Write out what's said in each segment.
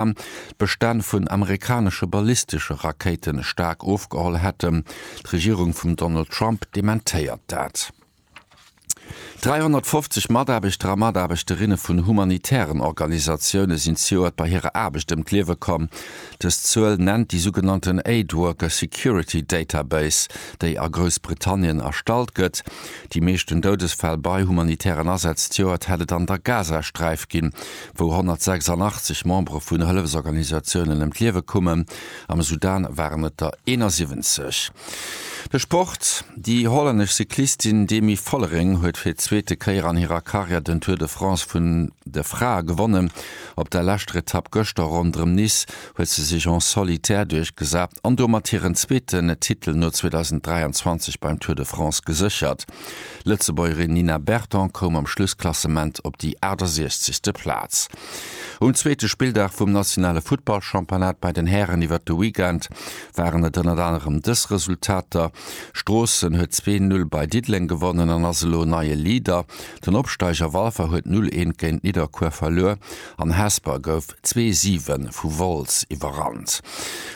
D'Bestänn vun amerikanesche ballistesche Rakéite staark ofgeholl hätten. D'Regierung vum Donald Trump dementéiert dat. 350 Mataarbechter a Mataarbechterinne vun humanitären Organisatioune sinn zejoert bei hirer Aarbecht ëm d'Liewe komm. Dës Zuel nennt déi sougenannten Aid Worker Security Database, déi a Groussbritannien erstallt gëtt. Déi meeschten Doudesfäll bei humanitären Asätz zejoert hätt et an der Gazasträif ginn, wou 186 Membere vun Hëllefsorganisatiounen ëm d'Liewe koumen. Am Sudan waren et der 71. De Sport, Déi hollännesch Cyclistin Demi Vollering huet fir d'zweete Kéier an hirer Karriär den Tour de France vun de Frae gewonnen. Op der leschter Etapp gëschter ronderëm Nice huet se sech en solitaire duerchgesat an domat hiren zweeten Titel no 2023 beim Tour de France geséchert. D'Lëtzebuergerin Nina Berton koum am Schlussklassement op déi 68. Plaz. Um zweete Spilldag vum nationale Futtballchampionnat bei den Hären iwwert de Weekend waren et ënnert anerem dës Resultater, Stroossen huet 2, 0 bei Diddeleng gewonnen an ass elo neie Leader, den Opsteiger Walfer huet 0, 1 géint Nidderkuer verluer an Hesper gouf 2, 7 vu Wolz iwwerrannt.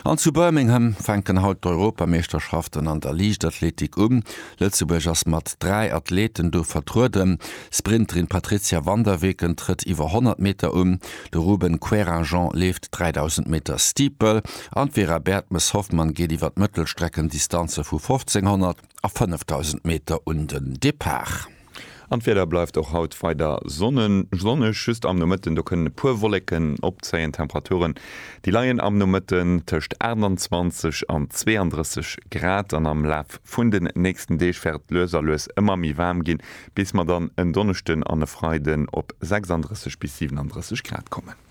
An zu Birmingham fänken haut d'Europameeschterschaften an der Liichtathletik un. Lëtzebuerg ass mat 3 Athleten do vertrueden. D'Sprinterin Patrizia van der Weken trëtt iwwer 100 Meter un, de Ruben Querinjean leeft 3.000 Meter Steeple an d'Vera Bertmes-Hoffmann geet iwwer d'Mëttelstreckendistanze vu 1.500 a 5.000 Meter un den Depart. An d'Wieder bleift och haut weider sonneg, just am Nomëtten do kënnen e puer Wolleken opzéien. D'Temperaturen déi leien am Nomëtten tëscht 28 an 32 Grad an am Laf vun den nächsten Deeg wäert et lues a lues ëmmer méi waarm ginn, bis mer dann en Donneschden an e Freiden op 36 bis 37 Grad kommen.